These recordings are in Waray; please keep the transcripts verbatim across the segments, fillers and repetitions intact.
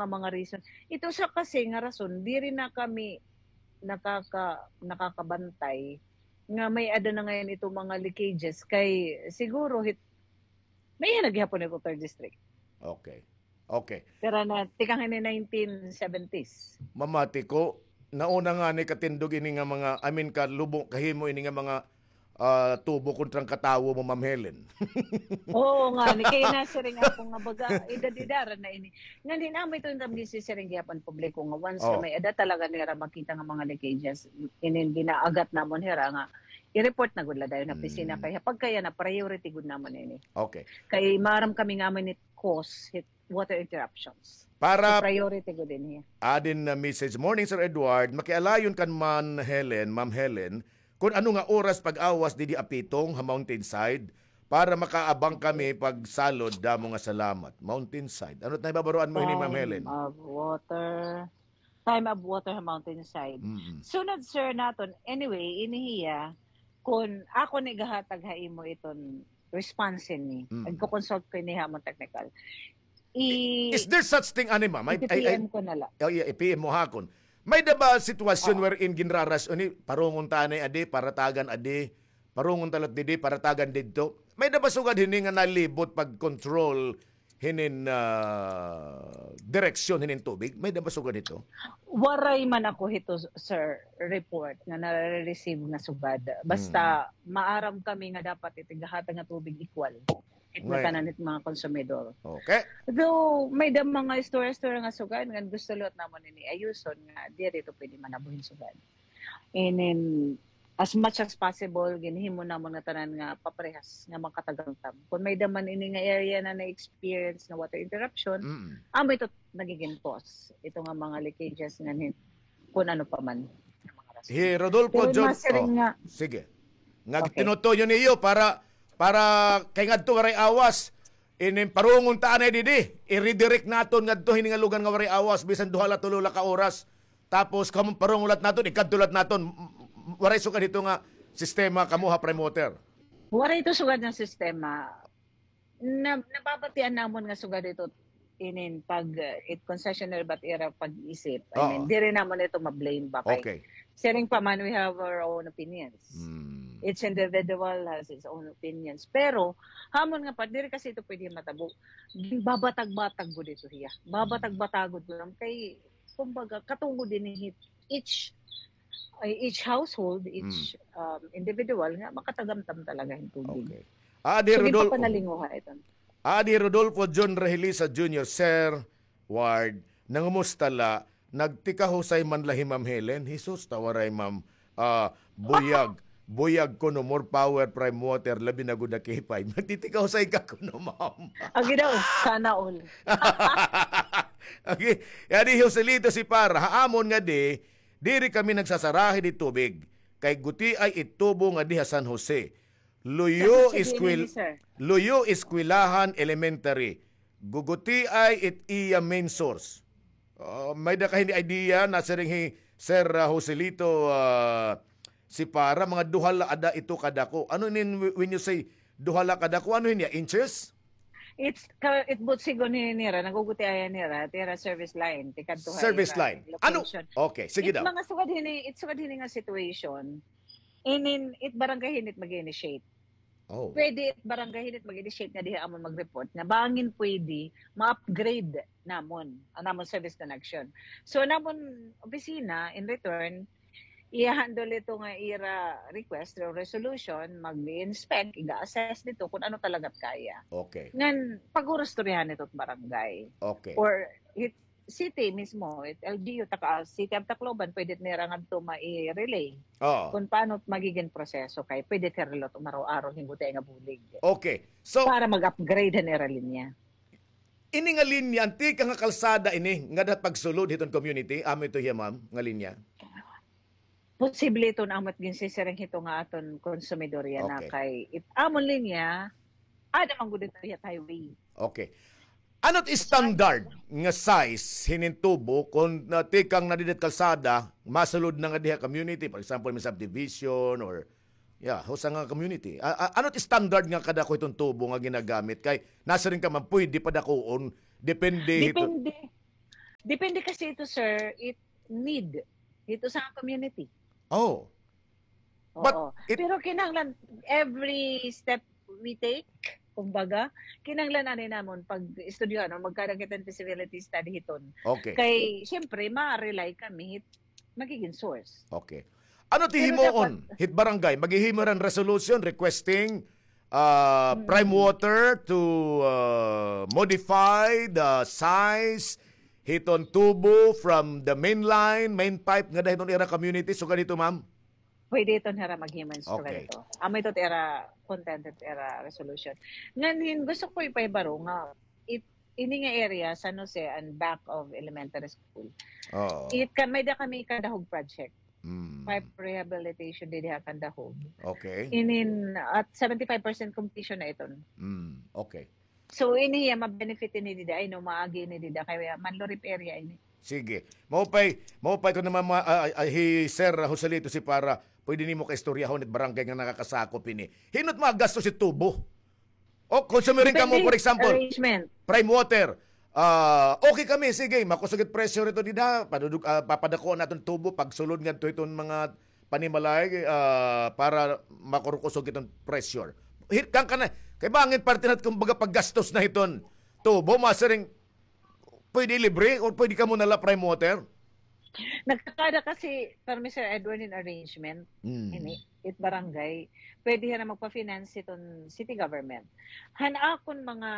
mga reason. Ito sa kasi nga rason, diri na kami nakaka-, nakakabantay nga may-ada na ngayon ito mga leakages kay siguro hit, may-ada na gihapon ito third district. Okay. Okay. Pero na, tikang ini nineteen seventies. Mamati ko, nauna ngani katindog ini nga mga, I mean, kalubo, kahimo ini nga mga, ah, tubo kontra an katawo mo, Ma'am Helen. Oo ngani, kay nasiring ako nga baga, edad-edaran na ini. Ngan hin-o amo ito nga ginsiring gihapon publiko nga once nga may-ada talaga nira makita nga mga leakages, inin ginaagat namon hira nga i-report na gud la dayon ha opisina kay ha pagkayana priority gud namon ini. Okay. Kay maaram kami nga amo ini cause hit water interruptions. Para priority gud ini. Adin na message, "Morning, Sir Edward. Makialayon kan Ma'am Helen, Ma'am Helen, kun ano nga oras pag-awas didi Apitong ha Mountainside para makaabang kami pagsalod. Damo nga salamat." Mountainside. Ano it naibabaroan mo hini, Ma'am Helen? Time of water. Time of water ha Mountainside. Mm-mm. Sunod, sir, naton. Anyway, ini hiya, kun ako ni gahatag ha imo iton response ini. Mm. Nagko-consult ko ini ha amon technical. I-, is there such thing, ani, ma'am? I-P M ko na la. Oh, yeah, i-P M mo ha akon. May-ada ba sitwasyon wherein ginraras, ani, parungon ta anay adi, paratagan adi, parungon ta la didi, paratagan didto? May-ada ba sugad hini nga nalibot pag-control hinin, ah, direksyon hinin tubig? May-ada ba sugad hito? Waray man ako hito, sir, report nga nare-receive nga sugad. Basta maaram kami nga dapat it igahatag nga tubig equal it tanan it mga konsumidor. Okay. Though may-ada mga istorya-istorya nga sugad nga gusto liwat namon ini ayuson nga diri to pwede manabo hin sugad. Inin, as much as possible, ginhimo namon nga tanan nga paparehas nga makatagamtam. Kung may-ada man ini nga area na na-experience nga water interruption, amo ito nagiging cause. Ito nga mga leakages nga hin-, kung ano pa man. Hi Rodolfo John, sige. Nga tinutuyo niyo para, para kay ngadto waray awas. Inin parungon ta anay didi, i-redirect naton ngadto hini nga lugar nga waray awas, bisan duha la tulo la ka oras. Tapos, kamo parungon lat naton, ikadto lat naton, m-, m-, waray sugad hito nga sistema kamo ha Prime Water? Waray ito sugad nga sistema. Na, nababatian namon nga sugad ito inin pag, uh, it concessionaire ba it ira pag-isip. I mean, diri namon ito ma-blame ba kay siring pa man, we have our own opinions. Each individual has its own opinions. Pero, ha amon nga part, diri kasi ito pwede matabo. Ginbabatag-batag gud ito hiya. Babatag-batag gud ko lang kay, kumbaga, katungod ini hit each, ay, each household, each, um, individual nga makatagamtam talaga hin tubig. Okay. Adi Rodolfo, adi Rodolfo John Rehelisa Junior, Sir Ward, nangumusta la, nagtikahusay man la hi Ma'am Helen, Jesus, ta waray, ma'am, ah, buyag, buyag kuno, more power Prime Water, labi na gud na K five. Nagtitikahusay ka kuno, ma'am. Agi daw, sana all. Okay, adi Joselito Sipar, ha amon ngadi, diri kami nagsasarahi di tubig, kay gutiay it tubo ngadi ha San Jose. Luyo Eskwel-, Luyo Eskwelahan Elementary. Gugutiay it iya main source. Ah, may-ada ka hini idea, nasiring hi Sir, ah, Joselito, ah, Sipar, mga duha la ada ito kadako. Ano inin, when you say duha la kadako, ano hiya, inches? It's ka-, it but sigon hini nira, nagugutiayan nira, it ira service line, tikadto ha ira location. Service line. Ano? Okay, sige daw. It mga sugad hini, it sugad hini nga situation, inin, it barangay hini it mag-initiate. Oh. Pwede it barangay hini it mag-initiate nga diha amon mag-report nga bangin pwede ma-upgrade namon an amon service connection. So, an amon opisina, in return, i-handle ito nga ira request or resolution, mag-inspect, iga-assess dito kung ano talaga it kaya. Okay. Ngan, pag-urustoryahan ito barangay. Okay. Or it city mismo, it L G U, taka, City of Tacloban, pwede nira ngadto mai-relay. Oo. Kung paano magiging proseso kay pwede it hira liwat umaro-aro hin gutiay nga bulig. Okay. So, para mag-upgrade han ira linya. Ini nga linya, an tikang nga kalsada ini, nga dapat pagsulod hiton community, amo ito hiya, ma'am, nga linya? Posible ito nga amo it ginsisiring hito nga aton konsumidor yana kay it amon linya, ada man gud ito hiya highway. Okay. Ano it standard nga size hinin tubo kon, ah, tikang na didi kalsada, masulod na nga diha community, for example, may subdivision or, yeah, usa nga community. A-, a-, ano it standard nga kadako hiton tubo nga ginagamit? Kay nasiring ka man, pwede padakuon, depende hito. Depende. Depende kasi ito, sir, it need ito sa community. Oh. But Oo. It Pero kinahanglan, every step we take, kumbaga, kinahanglan ani namon pag-estudyohan o magkaroon kita ng feasibility study hiton. Okay. Kay, siyempre, ma-rely kami hit magiging source. Okay. Ano it hihimuon hit barangay? Maghihimo hin resolution requesting uh, Prime Water to uh, modify the size hiton tubo from the main line, main pipe ngada hiton ira community. So ganito, ma'am. Pwede iton hira maghimo hin instrumento. Okay. Amo ito it ira content, it ira resolution. Ngan hin gusto ko ipahibaro nga it, ini nga area, San Jose and back of elementary school. Oo. It ka, may-ada kami kadahog project. Mm. Pipe rehabilitation didi ha Candahog. Okay. Inin, at seventy-five percent completion na iton. Mm, okay. So, ini hiya, ma-benefit ini dida, ay, no, maagi ini dida, kay Manlurip area ini. Sige. Maupay, maupay ko naman, ma-, ah, ah, hi Sir Joselito si para, pwede nimo kaistoryahon it barangay nga nakakasakop ini. Hin-o it mga gastos it tubo? O, kung sumiring kamo, for example, Prime Water, ah, okay kami, sige, makusog it presyo rito dida, padudug-, ah, papadakuan naton tubo, pagsulod ngadto hiton mga panimalay, ah, para makurukusog iton pressure. Hit kan kana, kay bangin parte na kumbaga paggastos na hiton tubo, masiring, pwede libre or pwede kamo na la Prime Water? Nagkakada kasi, permi Sir Edward, in arrangement, Mm. ini, it barangay, pwede na magpa-finance iton city government. Han akon mga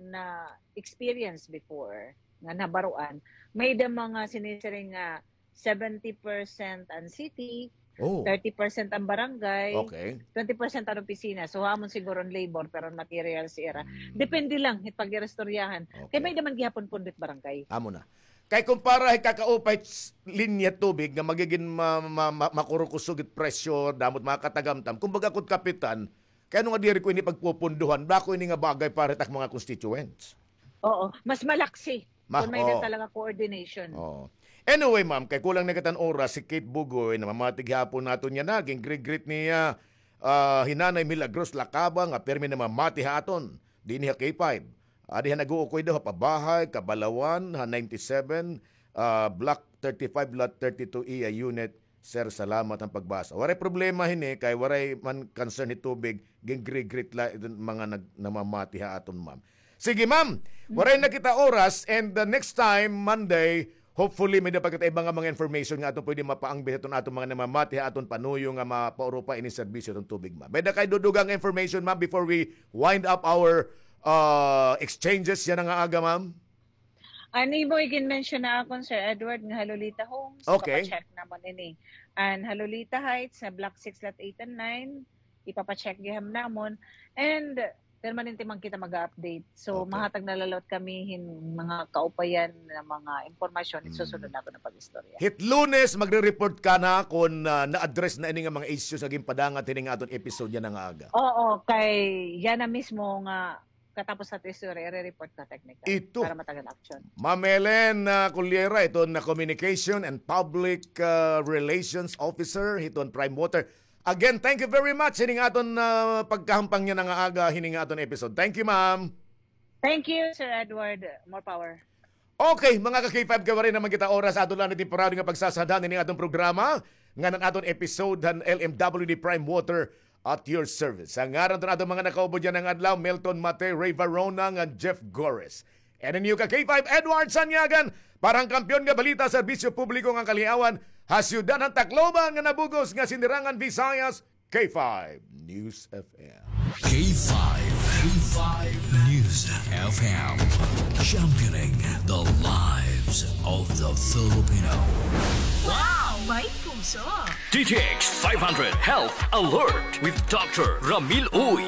na-experience before, nga nabaruan, may-ada mga sinisiring nga seventy percent an city, Oh. thirty percent an barangay, Okay. twenty percent an opisina. So, amon siguro an labor, pero an materials ira. Mm. Depende lang, hit pag-iristoryahan. Kay Okay. may-ada man gihapon pundo it barangay. Amo na. Kay kumpara hit kakaupay s-, linya tubig nga magigin ma-, ma-, ma-, makurukusog it presyo, damo it mga katagamtam. Kumbaga, kun kapitan, kay ano nga diri ko ini pagpupunduhan, bako ini nga bagay para hit ak mga constituents. Oo, mas malaksi. Ma-, Kung may oo. Talaga coordination. Oo. Anyway, ma'am, kay kulang na kita hin oras, si Kate Bugoy, namamati gihapon naton yana, gin-greet-greet niya, ah, hi Nanay Milagros Lacaba, nga pirmi namamati ha aton dinhi ha K five. Adi ha nag-uukoy daw ha Pabahay, Cabalawan, ha ninety-seven, ah, Block thirty-five, Lot thirty-two A unit. Sir, salamat han pagbasa. Waray problema hini, kay waray man concern hi tubig, gin-greet-greet la iton mga nag-, namamati ha aton, ma'am. Sige, ma'am. Waray na kita oras, and the next time, Monday, hopefully, may-ada pa kita iba nga mga information nga aton pwede mapaangbit hiton aton mga namamati ha aton panuyo nga mapaurupa ini serbisyo hiton tubig, ma'am. May-ada kay dudugang information, ma'am, before we wind up our, uh, exchanges yana nga aga, ma'am? An imo igin-mention ha akon, Sir Edward, nga ha Lolita Homes, Okay. Ipapacheck namon ini. An ha Lolita Heights, ha Block six, Lot eight and nine, ipapacheck gihap namon. And permanente man kita mag-update. So, Okay. Mahatag na la liwat kami hin mga kaupayan nga mga impormasyon, Mm. Susunod naton nga pag-istorya. Hit Lunes, magre-report ka na kung, ah, na-address na ini nga mga issues nga ginpadangat hini nga aton episode yana nga aga. Oo, kay yana mismo nga katapos sa tesoro, i-report na technical Ito. Para matagan action. Ma'am Ellen, ah, Cullera, iton na Communication and Public, ah, Relations Officer hiton Prime Water. Again, thank you very much hining aton, ah, pagkahampang yana nga aga hining aton episode. Thank you, ma'am. Thank you, Sir Edward. More power. Okay, mga ka-K five, kay waray naman kita oras, aton la ini temporary nga pagsasadhan ini aton programa, ngan an aton episode han L M W D Prime Water at your service. Sa ngaran han aton mga nakaubo yana nga adlaw, Milton Mate, Ray Varona, ngan Jeff Gores. And an iyo ka-K five, Edward Sanyagan, para han Kampiyon nga Balita, Serbisyo Publiko ngan Kaliawan, ha siyudad han Tacloban nga nabug-os nga Sinirangan Visayas, K five News F M. K five, K five News F M. Championing the lives of the Filipino. Wow! May puso! D T X five hundred Health Alert with Doctor Ramil Uy.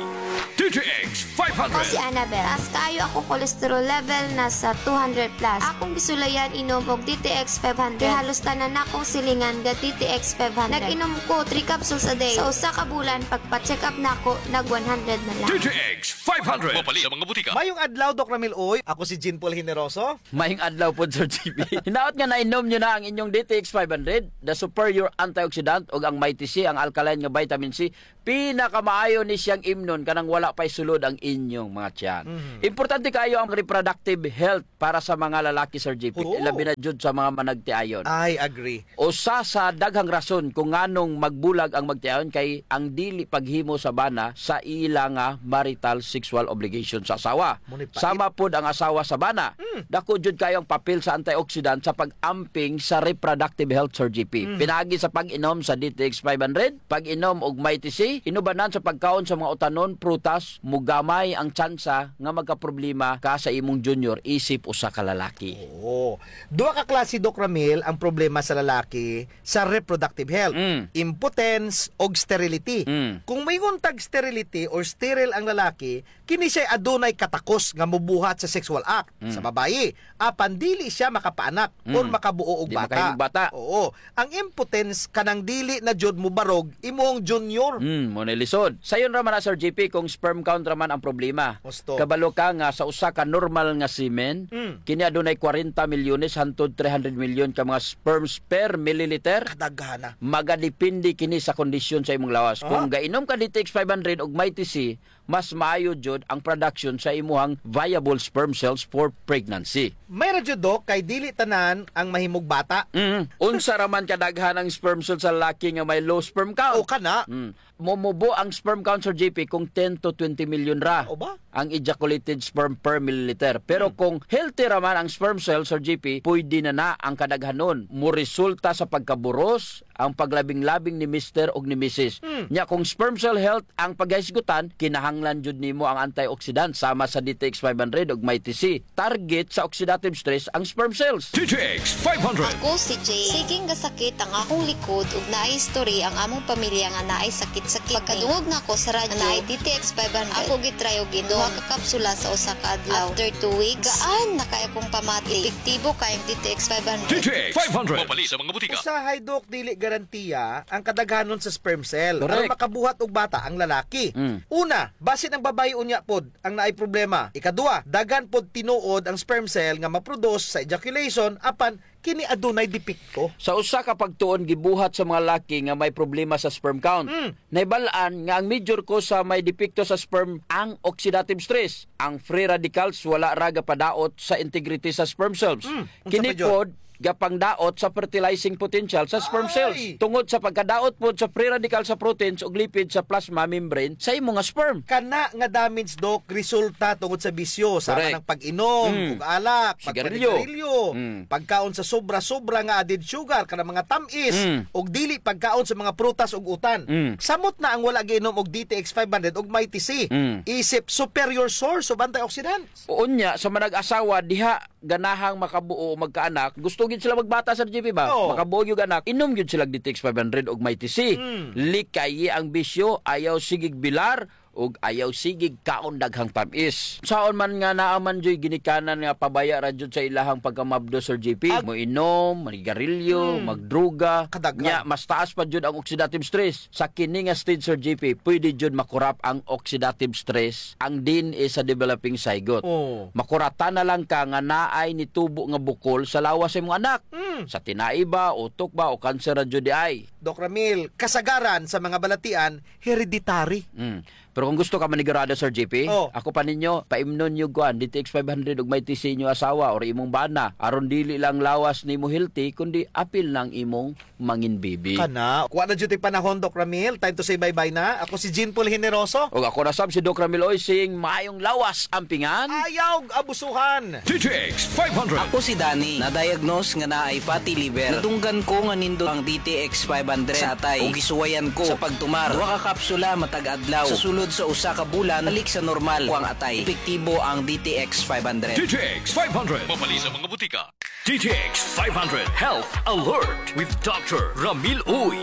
D T X five hundred. Ako si Annabel. Taas kaayo akong cholesterol level, nasa two hundred plus. Akong gisulayan inom og D T X five hundred. Kay halos tanan nakong silingan ga D T X five hundred. Nag-inom ko three capsules a day. Sa usa ka bulan, pagpa-check up nako, nag one hundred na lang. D T X five hundred. Mapalit sa mga butika. Mayong adlaw, Doc Ramil Uy. Ako si Jean Paul Generoso. Mayong adlaw pod, Sir G B. Hinaot nga nainom niyo na ang inyong D T X five hundred, the superior antioxidant, ug ang Mighty C, ang alkaline nga vitamin C. Pinakamaayo ni siyang imnon, kanang wala pa'y sulod ang inyong mga tiyan. Mhm. Importante kaayo ang reproductive health para sa mga lalaki, Sir J P. Oo. Labi na jud sa mga managtiayon. I agree. Usa sa daghang rason kung nganong magbulag ang magtiayon kay ang dili paghimo sa bana sa ila nga marital sexual obligation sa asawa. Mao ni pait. Sama pod ang asawa sa bana. Mm. Dako jud kaayo ang papel sa antioxidant sa pag-amping sa reproductive health, Sir J P. Mm. Pinaagi sa pag-inom sa D T X five hundred, pag-inom og Mighty C, inubanan sa pagkaon sa mga utanon, prutas, mogamay ang tsansa nga magkaproblema ka sa imong junior isip usa ka lalaki. Oo. Duha ka klase, Doc Ramil, ang problema sa lalaki sa reproductive health. Mm. Impotence og sterility. Mm. Kung moingon tag sterility or sterile ang lalaki, kini siya'y adunay katakos nga mobuhat sa sexual act. Mm. Sa babayi, apan dili siya makapaanak or Mm. makabuo og Di bata. makahimog bata. Oo. Ang impotence kanang dili na jud mobarog imong junior. Mm, mao na lisod. Sayon ra man na, Sir J P, kung sperm count ra man ang problema. Husto. Kabalo ka nga sa usa ka normal nga semen, Mm. kini adunay kwarenta milyones hantod three hundred milyon ka mga sperms per milliliter. Kadaghan na. Magadepende kini sa kondisyon sa imong lawas. Aha. Kung gainom ka D T X five hundred ug Mighty C, mas maayo jud ang production sa imuhang viable sperm cells for pregnancy. May ra jud, Doc, kay dili tanan ang mahimog bata. Mm. Unsa ra man kadaghan ang sperm cell sa lalaki nga may low sperm count? O, kana. Mm. Momubo ang sperm count, Sir J P, kung ten to twenty million ra O ba? ang ejaculated sperm per milliliter. Pero Hmm. kung healthy ra man ang sperm cell, Sir J P, pwede na na ang kadaghanon. Moresulta sa pagkaburos ang paglabing-labing ni mister ug ni misis. Hmm. Nya, kung sperm cell health ang paghisgutan, kinahanglan jud nimo ang antioxidant sama sa D T X five hundred ug Mighty C. Target sa oxidative stress ang sperm cells. D T X five hundred. Ako si Jay. Siging gasakit ang akong likod ug naay history ang among pamilya nga naay sakit sa kidney. Pagkadungog nako sa radyo nga naay D T X five hundred, ako gitry og inom. Duha ka kapsula sa usa ka adlaw. After two weeks, gaan na kaayo akong pamati. Epektibo kaayo ang D T X five hundred. D T X five hundred. Mapalit sa mga butika. Usahay, Doc, dili garantiya ang kadaghanon sa sperm cell. Correct. Aron makabuhat og bata ang lalaki. Mm. Una, basin ang babayi unya pod ang naay problema. Ikaduha, daghan pod tinuod ang sperm cell nga maproduce sa ejaculation, apan kini adunay depekto. Sa usa ka pagtuon gibuhat sa mga laki nga may problema sa sperm count. Mm. Nahibal-an nga ang major cause sa may depekto sa sperm ang oxidative stress. Ang free radicals wala ra gapadaot sa integrity sa sperm cells. Mm. Unsa Kini pa, Jud? pod gapangdaot sa fertilizing potential sa sperm Ay! cells. Tungod sa pagkadaot pod sa free radical sa proteins ug lipid sa plasma membrane sa imo nga sperm. Kana nga damage, Doc, resulta tungod sa bisyo, sama Correct. ng pag-inom Mm. ug alak, Sigarilyo. pagpanigarilyo, Mm. pagkaon sa sobra-sobra nga added sugar, kanang mga tam-is, Mm. ug dili pagkaon sa mga prutas ug utan. Mm. Samot na ang wala giinom og D T X five hundred ug Mighty C. Mm. Isip superior source of antioxidants. Unya, sa manag-asawa, diha ganahang makabuo o magkaanak, gusto gyud sila magbata, Sir J P, ba? Oo. Makabuo gyud anak, inom gyud sila D T X five hundred ug Mighty C. Mm. Likayi ang bisyo, ayaw sigig bilar, ug ayaw sigig kaon daghang tam-is. Saon man nga naa man juy ginikanan nga pabaya ra jud sa ilahang pagkamabdos, Sir J P. Ag- Moinom, manigarilyo, Mm. magdruga. Kadaghan. Nya, mas taas pa jud ang oxidative stress. Sa kini nga stage, Sir J P, pwede jud makurap ang oxidative stress, ang D N A sa developing zygote. Oo. Makuratan na lang ka nga naay nitubo nga bukol sa lawas sa imong anak. Mm. Sa tinai ba, utok ba, o kanser ra jud diay? Doc Ramil, kasagaran sa mga balatian, hereditary. Mm. Pero kung gusto ka manigurado, Sir J P, Oh. ako pa ninyo, paimnon niyo kuan, D T X five hundred ug Mighty C inyo asawa or imong bana. Aron dili lang lawas nimo healthy, kundi apil na ang imong mangin bibi. Kana, wa na jud tay panahon, Doc Ramil. Time to say bye-bye na. Ako si Jean Paul Generoso. Ug ako na sab si Doc Ramil Oysing. Maayong lawas, ampingan. Ayaw abusuhan. D T X five hundred. Ako si Danny. Na-diagnose nga naay fatty liver. Nadunggan ko nga nindot ang D T X five hundred sa atay. Ug gisuwayan ko sa pagtumar. Duha ka kapsula matag adlaw. Sa sulod sa usa ka bulan, balik sa normal ko ang atay. Epektibo ang D T X five hundred. D T X five hundred. Mapalit sa mga butika. D T X five hundred Health Alert with Doctor Ramil Uy.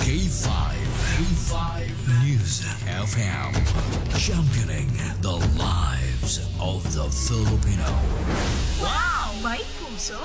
K five, K five News F M, championing the lives of the Filipino. Wow! May puso!